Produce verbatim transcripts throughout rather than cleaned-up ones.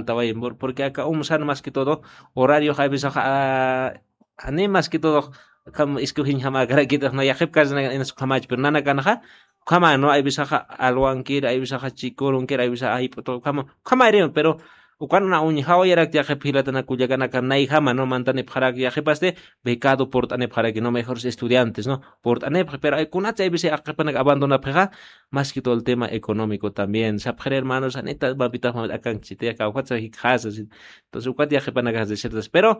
tawayim, por- porque aka umsan más que todo horario a veces, ah, ani más que todo kam escogiñ jamäkarakitix, no, yaqhip kasna inas ukhamach, pero nanakanxa ukhama, no, hay veces alwankir, hay veces chikurunkir, hay veces ay puto ukhama, ukhama iriw, pero ukan na uñjawayarak yaqhip jilatanak kullakanaka nayjama, no, mantanipxarak yaqhipasti becado purt'anipxaraki, no, mejores estudiantes, no, purt'anipxi, pero ay kunatsa hay veces yaqhipanak abandonapxixa, más que todo el tema económico también. Sapxir hermanos, anita mapitax mamit akanchiti, aka ukatsa jikxasa, sí. Entonces ukat yaqhipanakax desertas, pero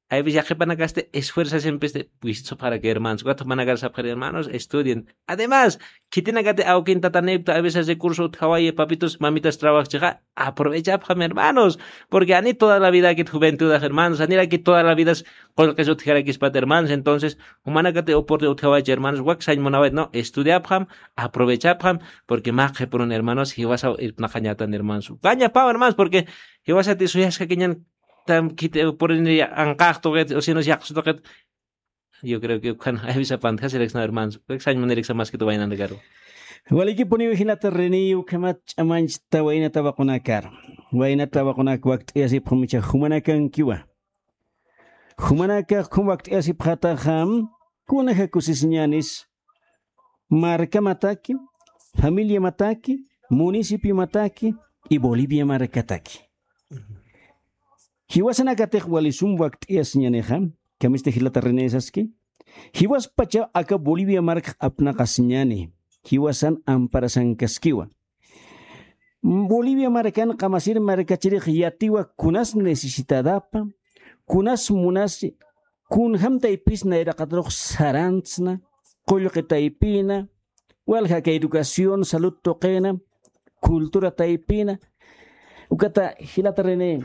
hay veces yaqhipanakasti esfuerzas empeste, pues, para que hermanos, ukat jumanakar sapxir hermanos, estudien. Además, khitinakati awkin tatanipta, hay veces recurso utjawayi, papitos, mamitas trabajchixa, aprovechapxam hermanos, porque ani toda la vida kit juventud, hermanos, aniraki toda la vida qullqis utjarakispat hermanos, entonces, jumanakati oportunidad utjawaychi hermanos, wak sañ munawayt, no, estudiapxam, aprovechapxam, porque mä qhipürun hermanos, jiwasaw irpnaqañatan hermanos. Ukañapaw hermanos, porque jiwasati suyaskakiñan tam kit, eh, purini anqax tuqit, o si no, yaqsu tuqit. Yo creo que ukan, ay, visa pantjasiriksa, hermanos. Ukan sañ muniriksa más que todo waynanakaru. Walikipuniw jilata René, ukhamat ch'amanchta waynata waqunakar. Waynata waqunak wakt'ayasipxam icha jumanakankiwa. Jumanakax ukham wakt'ayasipxataxam, kunaja kusisiñänis, markamataki, familiamataki, municipiomataki y Bolivia markataki. Jiwasanakatix wali sum wakt'ayasiñänixa, kamissti jilata René saski. Jiwaspacha aka Bolivia markax apnaqasiñäni, jiwasan amparasankaskiwa. Bolivia markan qamasir markachirix yatiwa kunas necesitadapa, kunas munasi, kunjam taypis nayraqatarux sarantsna, qullqi taypina, walja aka educación, salud tuqina, cultura taypina. Ukata jilata René,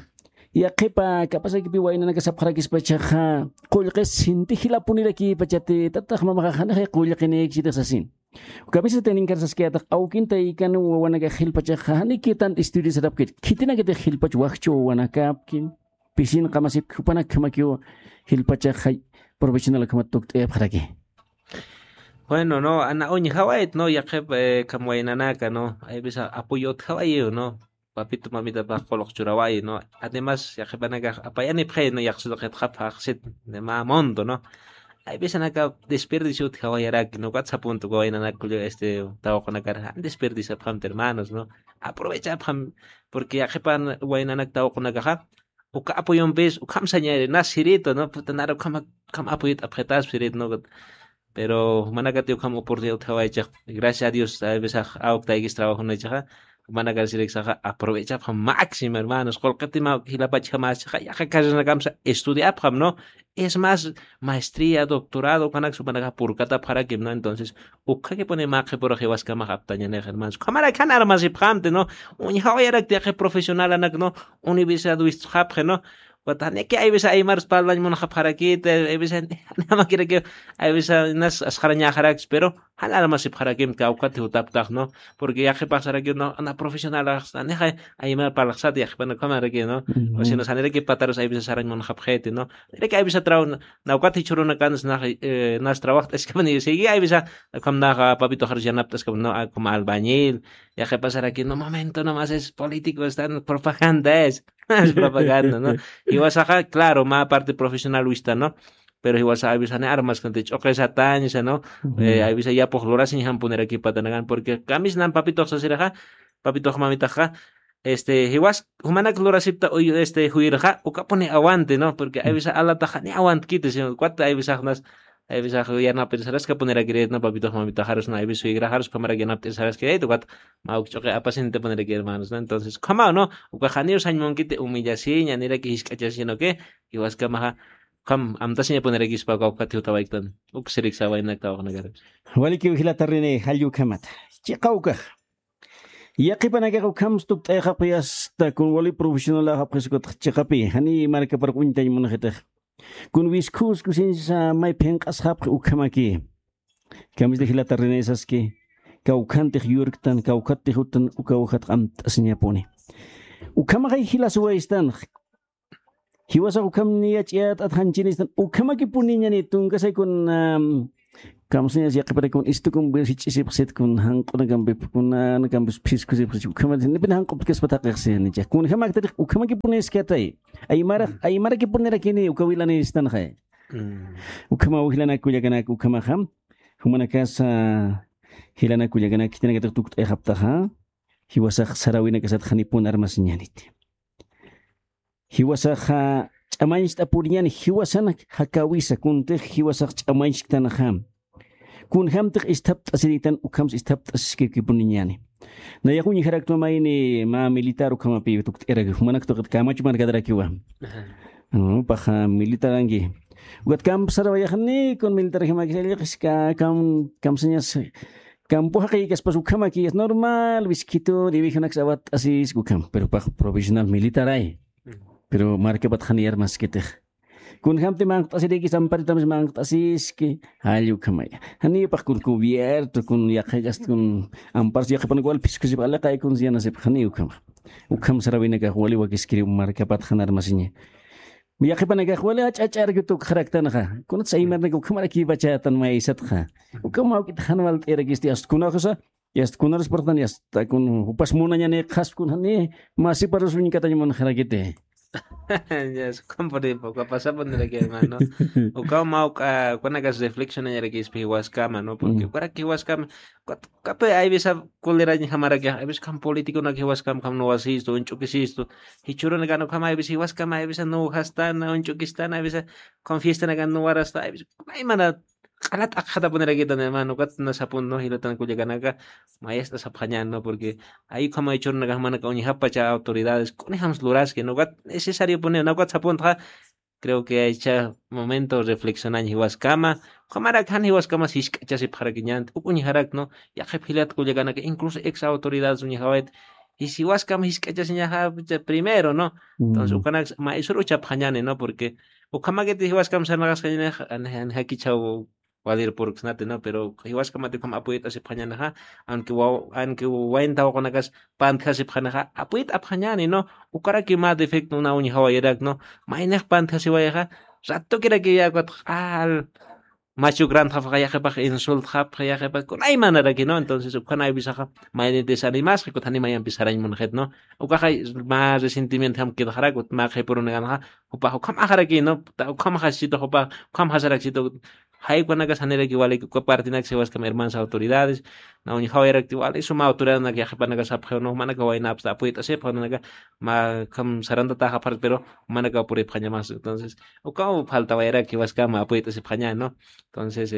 yaqhipa kapasakipi waynanaka sapxarakispachaxa, qullqis sinti jilapunirakipacha, tatax mamaxa janixay qullqinïkchitix sasin. Uka misas tayninkar saskayätax, awkin taykan wawanakax jilpachaxa, janikitan estudiasarapkir. Khitinakatix jilpach wajchu wawanakapki, pisin qamasipki, jupanakjamakiw jilpachaxa profesional ukhamat tukt'ayapxaraki. Bueno, no, ana uñjawayt, no, yaqhip, eh, kham waynanaka, no, hay veces apoyo utjawayiw, no, papito mamitapax qullq churawayi, no. Además, yaqhipanakax apayanipxi, no, yaqsu tuqit qhapxaxsit, de mä monto, no. Hay veces anaka desperdicio utjawayaraki, no, ukat sapuntu waynanaka, este, tawaqunakar, desperdiciapxamti, hermanos, no. Aprovechapxam, porque yaqhipan waynanak tawaqunakaxa, uka apoyompis, ukham sañäni, na sirito, no, puta, nara ukham, ukham apoyot apxitas sirito, no. Pero jumanakati ukham oportunidad utjawaychix, gracias a Dios, hay veces awktaykis trabajonaychixa, jumanakar siriksaxa, aprovechapxam máximo, hermanos, qullqiti mä jilapachjamäschixa, yaqha carreranakamsa estudiapxam, ¿no? Es más, maestría, doctorado, ukanaksa jumanakax purkatapxarakim, ¿no? Entonces, ukhakipuni mä qhipürux jiwaskamax aptañanix, hermanos. Ukhamarak jan armasipxamti, ¿no? Uñjawayarakti yaqhip profesionalanak, ¿no? Universidad wistxapxi, ¿no? Ukat janiki hay veces aymar espaldañ munxapxarakiti, hay veces jamakiraki, hay veces nas asxarañaxarakis, pero jan armasipxarakim kawkati jutaptax, ¿no? Porque yaqhipax sarakiw, no, na profesionalax, nanixay aymar parlaxsat yaqhipana ukhamaraki, ¿no? O si no, saniraki patarus hay veces sarañ munxapxiti, ¿no? Iraki hay veces traw, na, na ukat jichhürunakan, na, eh, nas trabajt'askapuni, sigui hay veces, ukham naxa papitoxarus yanapt'askapuni, no, ah, como albañil, yaqhipa saraki, no, momento, nomás es político, están propaganda, es. Es propaganda, ¿no? Jiwasaxa, claro, mä parte profesional wista, ¿no? Pero jiwasa hay veces armas, gente, ch'uqi satañsa, ¿no? Eh, hay veces yapux lurasiñ jampunirakipatanakan, porque kamisnan papitox sasiraxa, papitox mamitaxa, este, jiwas, jumanak lurasipta, uy, este, juyirxa, ukapuni aguante, ¿no? Porque hay veces alataxa ni aguantkiti, sino cuata hay veces nas, hay veces yanapt'ir saraskapunirakirit, ¿no? Papitox mamitaxarus, ¿no? Hay veces suegraxarus, ukhamarak yanapt'ir saraskirayta, ukat, mä uk ch'uqi apasintapunirakir, hermanos, ¿no? Entonces, ukhamaw, ¿no? Ukax janiw sañ munkiti humillasiña, niraki jisk'achasiña, ¿no? Que, jiwaskamaxa, ukham amtasiñapunirakispa, uka ukat jutawayktan, uk siriksa waynanak tawaqunakar. Walikiw jilata René, jall ukhamata. Chiqa ukax. Yaqhipanakax ukham tukt'ayxapxi hasta kun wali profesional axapxi sukatax chiqapi, jani markaparux uñtañ munxitix. Kun wiskhus kusinsa may phinq'asxapxi ukhamaki. Kamissti jilata René saski, kawkhantix yurktan, kawkhattix jutan, uka ujat amt'asiñapuni. Ukhamaxay jilasuwaystan, jiwasax ukham niya ch'iyat atxanchinistan, ukhamakipuniñani tunkasay kun, am, Kamsañas yaqhiparakun istukum sich'isipxsit kun janq'unakampip kunanakampis phiskusipxsit ukhama nipin janq'uptkaspa thaqixsinicha kunjamaktarix ukhamakipuniskatay. Aymara aymarakipunirakiní uka wilanistanxay. Ukhama ujilanakullakanak ukhamaxa jumanakasa jilanakullakanak khitinakatix tukt'ayxaptaxa. Jiwasax sarawinakasat janipun armasiñaniti. Jiwasaxa ch'amañcht'apuriñan jiwasanak jakawisa kuntix jiwasax ch'amañchktanxa. Kunjamtix isthapt'asiriktan ukhamsa isthapt'asiskipuniñani. Nayax uñjaraktwa mayni mä militar ukhamapi tukt'iraki jumanak tuqit kamachu markatarakiwa. Paxa militaranki ukat kampsarawayaxni kun militarankimakis allqis kamsañas. Kampu jaqiyikaspas ukhamakiyas normal wiskitun iwijanaksa awatt'asiski ukham pero pax profesional militaray. Pero markapat janiyar maskitix kunjamti manqt'asirikis amparitamis manqt'asiski. Jall ukhamaya janipax kun cubierto kun yaqhik'ast kun amparsa yaqhipanak wal phiskusip aliqay kun siyanasipx jani ukhamax. Ukham sarawinakax wali wakiskiri markapat janarmasiña. Yaqhipanakax wali ach'ach'arki tukxaraktanxa kunatsa aymarnak ukhamarakipacha tan maysatxa. Ukham awk'it jan walt'irakisti asta kunaxusa. Yasta kunarus parxtan yasta kun jupas munañani qhasp kun jani masiparus uñkatañ munxarakiti. Yas ukham puripa uka pasapuniraki hermano. Ukaw mä uk'a ukanakas reflexionañarakispa jiwaskama no porque ukaraki jiwaskama. Ukapi aybisa kulirañjamaraki aybisa ukham politiconak jiwaskama ukham nuwasistu uñch'ukisistu. Jichhürunakan ukham aybisa jiwaskama aybisa nuwjastana uñch'ukistana aybisa ukham fiestanakan nuwarasta aybisa ukham aymana. Q'alat akxatapunirakitani hermano ukat nasapun no jilatan kullakanaka. Mayast'asapxañani no porque ay ukhama jichhürunakax manaka uñjapacha autoridades kunijams luraski no ukat necesariopuniw na ukat sapuntxa. Creo que aycha momento reflexionañ jiwaskama ukhamarak jan jiwaskamas jisk'achasipxarakiñanti uk uñjarak no. Yaqhip jilat kullakanaka incluso ex autoridades uñjawayt jis jiwaskama jisk'achasiñaxa primero no. Entonces ukanaks maysur uchapxañani no porque ukhamakiti jiwaskam sarnaqaskañanix. Jakichhaw walir purksnati no pero jiwaskamati ukham apuyt'asipxañanixa. Aunque wayn tawaqunakas pantjasipxanixa apuyt'apxañani no. Ukaraki mä defecto una uñjawayirak no. Maynix pantjasiwayixa rattukiraki yakwat q'al. Machukrantxapxa yaqipax insultxapxa yaqipax kunaymanaraki no entonces ukhan aywisaxa. Mayni desanimasxa kuthanima yampi sarañ munxit no. Ukaxa mä resentimiento jam kidxarak ut mä qhipurunkanxa. Jupax ukham axaraki no ukham jaschitu jupax ukham jasaraksitu. Jaykunakas janiraki walik uka partinaksa jiwaskam hermanas autoridades. Na uñjawayarakti wali suma autoridadenak yaqipanakas sapxiw no jumanaka waynapsta apuyt'asipxa nanaka. Mä ukham sarantataxapxarak pero jumanaka puripxañamas entonces ukaw faltawayarak jiwaskama apuyt'asipxaña no. Entonces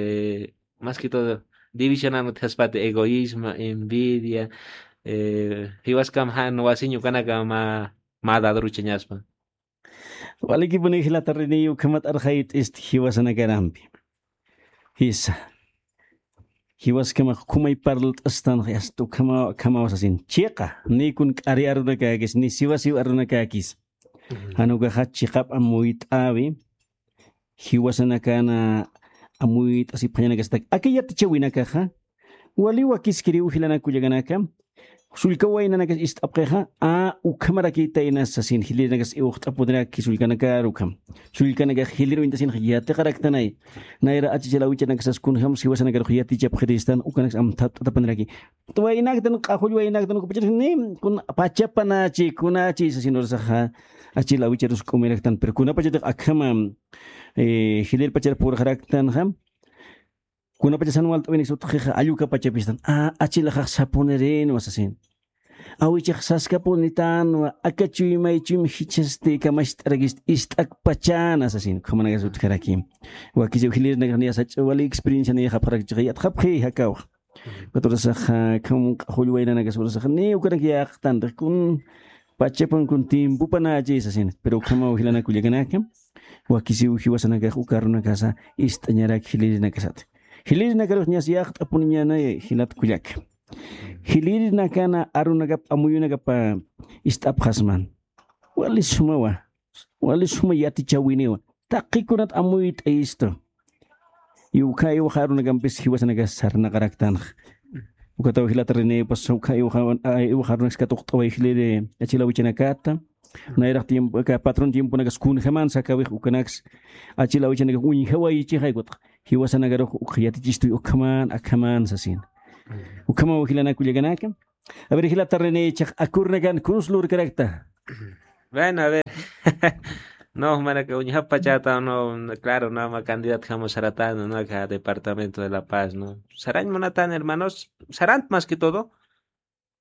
más que todo divisionan utjaspati egoísmo envidia. Jiwaskam jan wasiñ ukanaka mä mä dadruchañaspa. Walikipuni jilatarini ukhamat arxayt'ist jiwasanakarampi. Jisa jiwaskamax khumay parlt'astanxa asta ukhamawa sasin chiqa ni kun k'ari arunakäkis ni siwasiw arunakäkis. Jan ukaxa chiqap amuyt'äwi jiwasanakana amuyt'asipxañanakastak aka yatichäwinakaxa. Wali wakiskiriw jilanak kullakanaka sullka waynanakas ist'apxixa a ukhamarakïtaynas sasin jilirinakas iwxt'apuniraki sullkanakar ukham. Sullkanakax jilir uñtasinxa yatiqaraktanay. Nayra achichal awichanakasas kunjams jiwasanakarux yatichapxiristan ukanaks amthapt'atapaniraki. Waynaktan q'axull waynaktan ukapacharix ni kun pachapanächi kunächi sasin urasaxa. Achil awicharus k'umiraktan pero kunapachatix akhama jilirpachar purxaraktanxa. Kunapachasan walt'awinak sutxixa allukapachapistan achilaxax sapunirinwa sasin. Awichax saskapunitanwa aka chuymay chuym jichhasti kamacht'arakist ist'akpachana sasin ukhamanakas utjaraki. Wakisiw jilirnakax niyasach'a wali experiencia niyxapxarak chiqa yatxapxi jakawxa. Ukaturasaxa kham q'axull waynanakas urasaxa ni ukanak yaqtantix kun pachapan kun tiempopanächi sasin pero ukhamaw jilanakullakanaka. Wakisiw jiwasanakax uka arunakasa ist'añarak jilirinakasat. Jilirinakarux ñas yaqt'apuniñanay jilat kullaka. Jilirinakana arunakap amuyunakapa ist'apxasman. Wali sumawa wali suma yatichäwiniwa. Taqikunat amuyt'ayistu. Iwkha iwaxa arunakampis jiwasanaka sarnaqaraktanxa. Ukataw jilata rinïpas ukha iwaxa arunakskat uqt'away jiliri achil awichanakata. Nayraq tiempo, aka patrón tiemponakas kunjaman sakawix ukanaks, achil awichanakax uñjawayichixay kutaq. Jiwasanakarux uk yatichistuy ukhaman, akhaman sasin. Ukhamaw jilanak kullakanaka. A ver, jilata René, chaq akurnakan kunslurkarakta. Bueno, a ver. No, manaka uñjapachata, no, no, claro, no, ma candidato jamás saratan, no, acá departamento de La Paz, ¿no? Sarañ munatan, hermanos, sarant más que todo.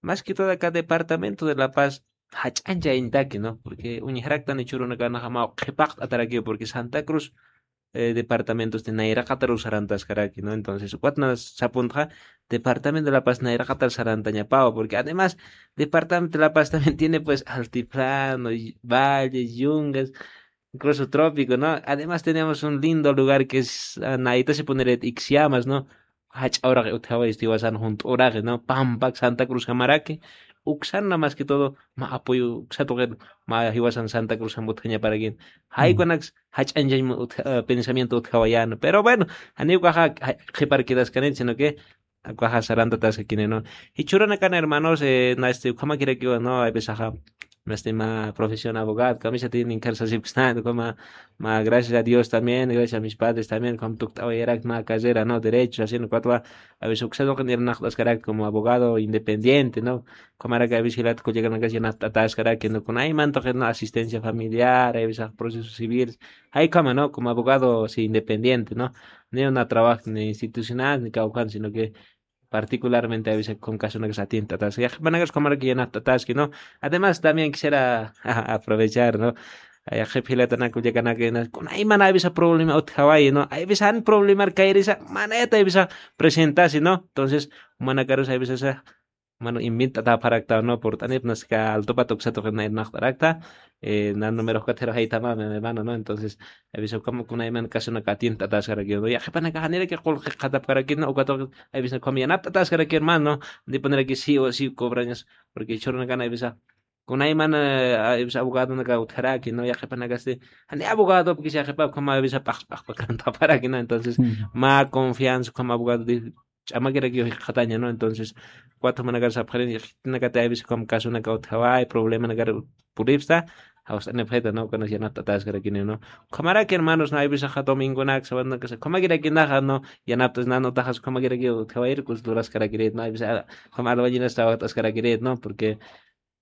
Más que todo acá departamento de La Paz, jach'anchañtaki, ¿no? Porque uñjaraktan ichurunakanaxa ma qhipaqt'atarakiw, porque Santa Cruz, eh, departamentos de nayraqataru sarantaskaraki, ¿no? Entonces, ukatna sapuntxa, departamento de La Paz nayraqatar sarantañapawa, porque además, departamento de La Paz también tiene, pues, altiplano, y valles, yungas, incluso trópico, ¿no? Además tenemos un lindo lugar que es, ah, nayta se poner Ixiamas, ¿no? Jach'a uraqi utjawayisti jiwasan junt'u uraqi, ¿no? Pampak Santa Cruz jamaraki, uksan más que todo, ma apoyo, uksa tuqi, ma jiwasan Santa Cruz jam utjañaparakin. Jaykunak jach'anchañ utja-, ah, pensamiento utjawayäna. Pero bueno, janiw ukaxa, ja-, qhipar quedaskanit, sino que, ukaxa sarantataskakini, ¿no? Jichhüranakan hermanos, eh, na este, ukhamakirakiwa, ¿no? Hay veces, ajá, na este, ma profesión abogado, kamisatïn inkarsasipkstan, como, ma, gracias a Dios también, gracias a mis padres también, como tukt'awayarak ma carrera, ¿no? Derecho, así, ¿no? Cuatro, a veces, uksa tuqin irnaqt'askarak como abogado independiente, ¿no? Ukhamaraki a veces jilat kullakanakas yanapt'ataskaraki, ¿no? Kunayman tuqi, ¿no? Asistencia familiar, hay veces proceso civil, jaykhama, ¿no? Como abogado, sí, independiente, ¿no? Ni una trabajo ni institucional, ni kawkhan, sino que particularmente a veces con caso unas atientas, ya, manera como que ya no, ¿no? Además, también quisiera aprovechar, ¿no? Ay, jep jilatanaku, llakanaka, kunayman a veces problema utjawayi, ¿no? A veces han problema kayrisa, maneta a veces presentasi, ¿no? Entonces, manakarus a veces, ah, mano, invita ta parakta, ¿no? Por tanip, naska alto pato que se toca en naktarakta, eh, na número cuatro ahí tama, mi hermano, ¿no? Entonces, a veces como kunayman caso una catienta ataskaraki, ¿no? Ya, jepanaka, janira que col jatapkaraki, ¿no? O cuatro, a veces como ya nap ataskaraki, hermano, de poner aquí sí o sí cobrañas, porque chorona gana, a veces, kunayman, eh, a veces abogado naka utjaraki, ¿no? Ya jepanaka este, ani abogado, porque se jepa como a veces pax, pax, pax, canta para aquí, ¿no? Entonces, ma confianza como abogado de ch'amakirakiw jikxataña, ¿no? Entonces, cuatro manakar sapxarin, jikxatinakati a veces como caso naka utjaway, problema nakar puripsta, jawst'anipxita, ¿no? Ukanas yanapt'ataskarakini, ¿no? Ukhamaraki, hermanos, ¿no? A veces ja domingo nak, sabanaka, ukhamakirakixa, ¿no? Yanaptas, ¿no? Utaxas ukhamakirakiw utjawayir, culturaskarakirit, ¿no? A veces, ah, ukhama albañilas trabajtaskarakirit, ¿no? Porque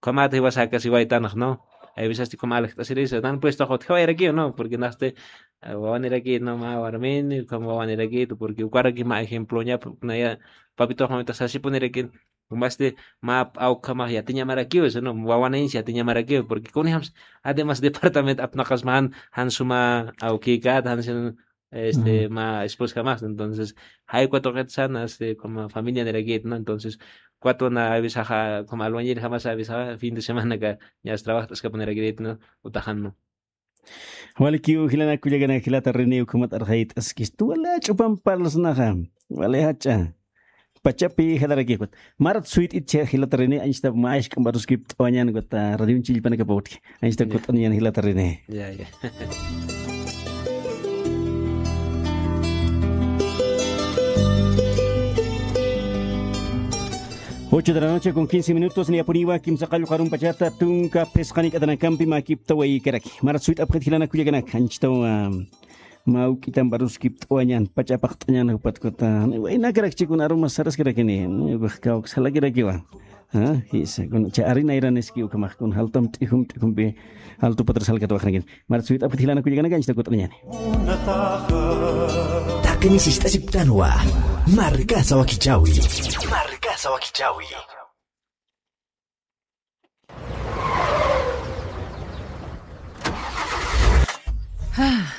ukhamat jiwasakasiwaytanx, ¿no? A veces, como aljt'asirisa, nan pues toqot jiwayrakiw, ¿no? Porque naxti, ah, wawaniraki, ¿no? Ma warmin, como wawaniraki, porque ukaraki ma ejemplo ña, porque naya, papito, mamita, sasipuniraki, como este, ma, aw, ukhama yatiñamarakiw, eso, ¿no? Wawanins yatiñamarakiw, porque kunijams, además, departamento apnaqas man, han suma, aw, kikat, han sin, este, ma esposa más. Entonces, hay cuatro que están, este, como familia de la guía, ¿no? Entonces, cuatro na avisaja, como albañil jamás avisaja, fin de semana que ya trabaja, es que poner aquí, ¿no? Utajan, ¿no? Walikiw jilanak kullakanak jilata René ukhamat arxayt'askistu, wala ch'upam parlasnaxa, wala jach'a. Pachapi jalarakïkut. Marat suyt'it chä jilata René, anchhita mä isk'amp aruskipt'awañän ukat, ah, radioñ chillpanakapa utji. Anchhita kut'aniñän jilata René. Ya, ya. Ocho de la noche con quince minutos, niyapuniwa kimsa qallqu arumpachata tunka phisqanik'atanakampi mäkiptawaykaraki. Marat suyt'apxit jilanak kullakanaka, anchhitaw, ah, Mä juk'ita amparuskipt'awañän, pacha apaqt'añän jupat ukat, waynakarakchikun arumas saraskarakini, kawksa jalakirakiwa. Ah, jisa, kun cha arinayran iski ukhamax kun jaltam t'ijum t'ijumpi jaltu patras jalkatawaqnakini. Marat suyt'apxit jilanak kullakanaka, anchhita kut'aniñäni. Taqini sist'asipktanwa. Markasa wakichäwi. Markasa wakichäwi.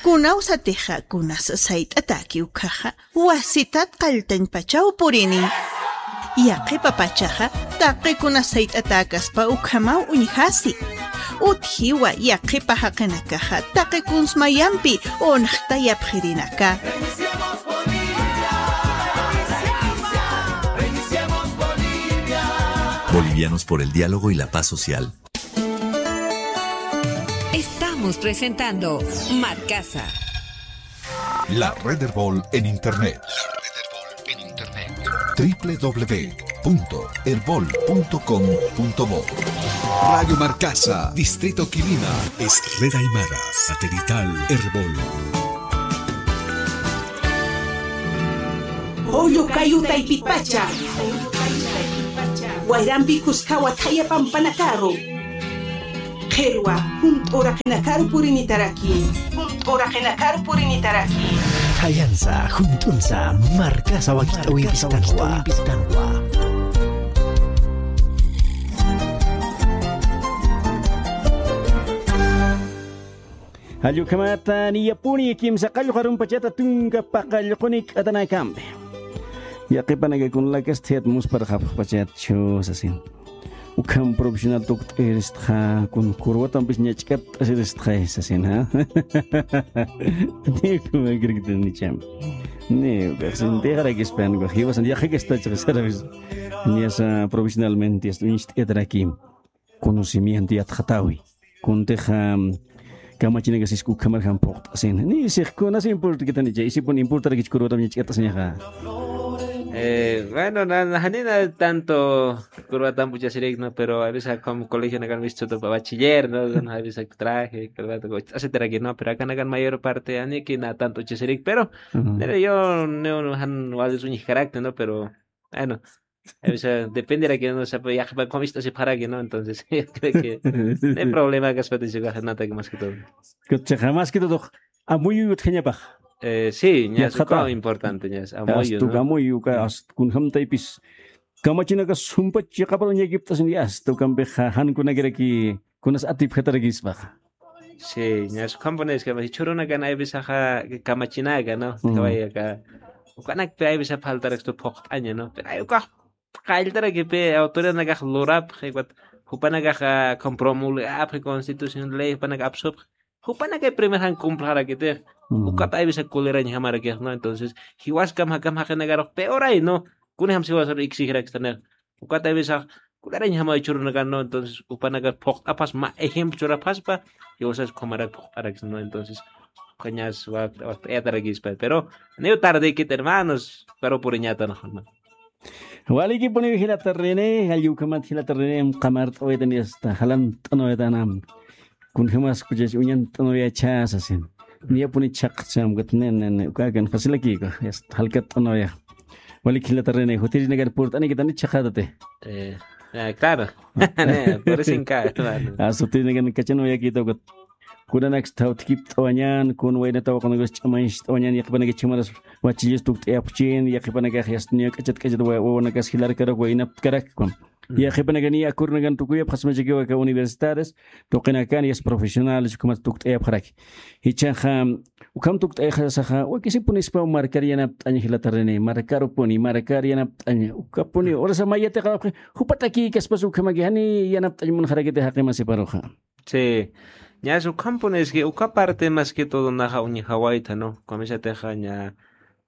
Kunaw satixa, kunas sayt'atäki ukkhaxa, wasitat qalltañpachaw purini. Yaqhipa pachaxa, taqi kunas sayt'atäkaspa ukhamaw uñjasi. Utjiwa yaqhipa jaqinakaxa, taqi kuns mayampi unxtayapxirinaka. Bolivianos por el diálogo y la paz social. Estamos presentando Marcasa. La red Erbol en Internet. La red Erbol en Internet. W W W punto erbol punto com punto bo. Radio Marcasa, Distrito Quilima, es Red Aymara, satelital Erbol. Pollo kayu taypipacha. Wayrampi kuskawa thaya pampanakaru. Qhirwa, junt'u uraqinakaru purinitaraki. Junt'u uraqinakaru purinitaraki. Thayansa, junt'unsa, Marcasa wakich'awimpistanwa. Jall ukhamata niyapuni kimsa qallqu arumpachata tunka paqallquni k'atanakampi. Yaqhipanaka kunalakas thiyat musparxapxpachatchu sasin. Ukham profesional tukt'iristxa, kun kurwatampis ñach'katt'asiristxa sasin, ¿ha? Ni ukhamakiraktan nicham. Ni ukaxsin dejarakispan, jiwasan yaqhakastachxa sarapis. Niyasa profesionalmente, uñst'itarakim. Conocimiento yatxatawi. Kuntixa, kamachinakas isku ukhamar jam phuqt'asin. Ni six kunas importa kitanicha, isipun importarakich kurwatam ñach'kat'asiñaxa. Eh, bueno, na, na, janina tanto kurwatam puchasirikno, pero a veces como colegio nakan visto bachiller, ¿no? A veces traje, corbata, así no, pero acá nakan mayor parte, ani que na tanto chasirik, pero, pero yo, no, no, han, wal es un carácter, ¿no? Pero, bueno, a veces depende de que no se puede, ya, como esto se para que no, entonces, yo creo que no hay problema que se puede llegar a nada que más que todo. Kutchaxa, más que todo, amuyu utjañapax. Eh, sí, ña, es importante, ña, amuyu, ¿no? Amuyu, uka, kunjam taypis. Kamachinakas sumpach chiqapar uñakipt'asin, ya, hasta ukampixa, jan kunakiraki, kunas atipxatarakispaxa. Sí, ña, ukhampuni es que, jichhürunakan a veces kamachinaka, ¿no? Kawayaka. Ukanakpi a veces faltarakstu phuqt'aña, ¿no? Pero ay, ukax qalltarakipi autoridadnakax lurapxi, jupanakax, ah, compromulgapxi constitución, ley, jupanaka apsupxi. Jupanaka primer jan cumplxarakitix. Ukap a veces kulirañjamarakix, ¿no? Entonces, jiwaskam jakam jaqinakarux peor ay, ¿no? Kunjam jiwasar exigirakstanix. Ukat a veces kulirañjama jichhürunakan, ¿no? Entonces, jupanaka phuqt'apas mä ejemplo churapaspa, jiwasas kumarak phuqt'arakis, ¿no? Entonces, ukañas wak, wak, pero, niw tardekit, hermanos, pero puriñatan, ¿no? Walikipuniw jilata René, jall ukhamat jilata René, qamart'awaytan, hasta jalant'anawaytanam. Kunjamas kuchach uñant'anawayachä sasin. Niyapuni chhaqcham, ukat ne, ne, ne, ukakan facilakïku, hasta jalkat'anawaya. Walik jilata René, jutirinakan purt'anikitani chhaqatati. Eh, ah, claro. Ne, por eso en cada, hermano. Ah, jutirinakan kachanawayakïta, ukat. Kunanaksta jawthkipt'awañän, kun waynataw qanakas ch'amañcht'awañän, yaqhipanakax chimaras wachillas tukt'ayapxchin, yaqhipanakax yasta niya k'achat k'achat wa-, wawanakas jilarkarak, waynaptkarak, kun. Yaqhipanakax niya akurnakan tukuyapxasmachakiw aka universitarios, tuqinakan yasta profesionales, ukhamat tukt'ayapxaraki. Jichhaxa, ukham tukt'ayxasaxa, wakisipunispaw markar yanapt'añ jilata René, markarupuni, markar yanapt'añ, ukapuni, urasa mayatiqapxi, jupatakïkaspas ukhamaki, jani yanapt'añ munxarakiti jaqi masiparuxa. Sí. Ñas ukhampuni es que uka parte más que todo naxa uñjawayta, ¿no? Kamisatixa ña,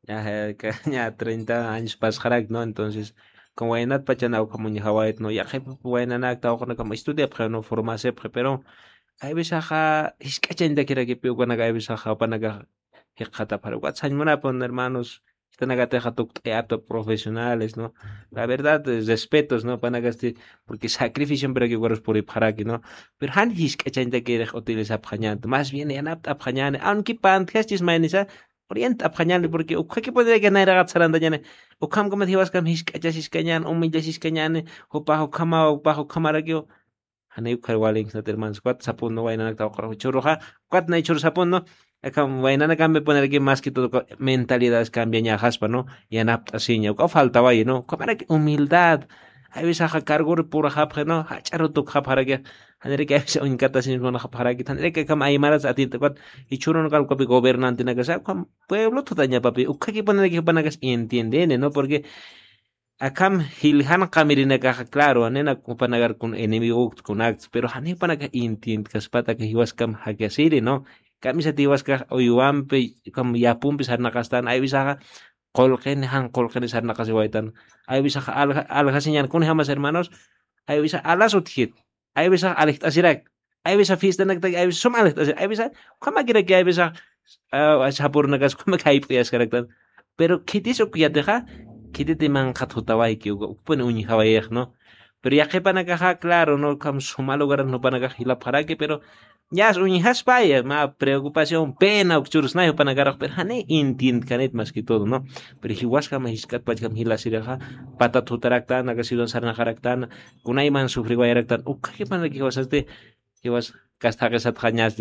ña, eh, ka-, ña treinta años pasxarak, ¿no? Entonces, como waynat pachana ukham uñjawayta, ¿no? Yaqhip waynanak tawqanakam estudiapxi, ¿no? Formasipxi, pero hay veces axa jisk'achañtakirakipi ukanak hay veces axa upanakax jikxatapxara. Ukat sañ munapun, hermanos, jitanakatixa tukt'ayapta profesionales, ¿no? La verdad, eh, respetos, ¿no? Panakasti, porque sacrificio, pero que ukarus puripxaraki, ¿no? Pero jan jisk'achañtakirix utilizapxañänti, más bien yanapt'apxañäni, aunque pantjastis maynisa, pero yanapt'apxañäni, porque ukhakipuniraki nayraqat sarantañäni, ukhamkamat jiwaskam jisk'achasiskañäni, humillasiskañäni, jupax ukhamaw, jupax ukhamarakiw, janiw ukhar walinksnat, hermanos, ukat sapun, ¿no? Waynanak tawqaruxa jichhüruxa, ukat nay jichhüru sapun, ¿no? Akham waynanakampi ponerki más que todo mentalidades cambiañaxaspa, ¿no? Yanapt'asiña, uka faltawayi, ¿no? Ukhamaraki humildad. Hay veces axa cargori purxapxi, ¿no? Jach'aru tukxapxaraki. Janiraki hay veces uñkatasiñ munxapxaraki. Janiraki akham aymaras atiendet, ukat jichhürunakal ukapi gobernantenakasa, ukham pueblo thuthañapapi. Ukhaki ponerki jupanakas entiendeni, ¿no? Porque akham jiljan qamirinakaxa, claro, janina jupanakar kun enemigokta kunakta, pero jani jupanakax entiendkaspata aka jiwaskam jakasiri, ¿no? Kamisat jiwaskax uywampi, ukham yapumpi sarnaqastan, hay veces axa qullqini, jan qullqini sarnaqasiwaytan. Hay veces axa alja-, aljasiñan, kunjamas, hermanos, hay veces alas utjkit. Hay veces alijt'asirak. Hay veces fiestanaktaki, hay veces sum alijt'asirak. Hay veces ukhamakiraki, hay veces, ah, sapurnakas ukhamak jayp'uyaskaraktan. Pero khitis uk yatixa, khititi manqhat jutawayki, uk, ukpuni uñjawayix, ¿no? Pero yaqhipanakaxa claro no ukham suma lugaran jupanakax jilapxaraki pero ñas uñjaspaya mä preocupación pena ukchurusnay jupanakarux pero jani entiendkanit mas que todo no. Pero jiwaskama jisk'atpachkam jilasirixa patat jutaraktan aka ciudan sarnaxaraktan kunayman sufriwayaraktan ukhakipanaki jiwasasti jiwas kastaqisatxa ñas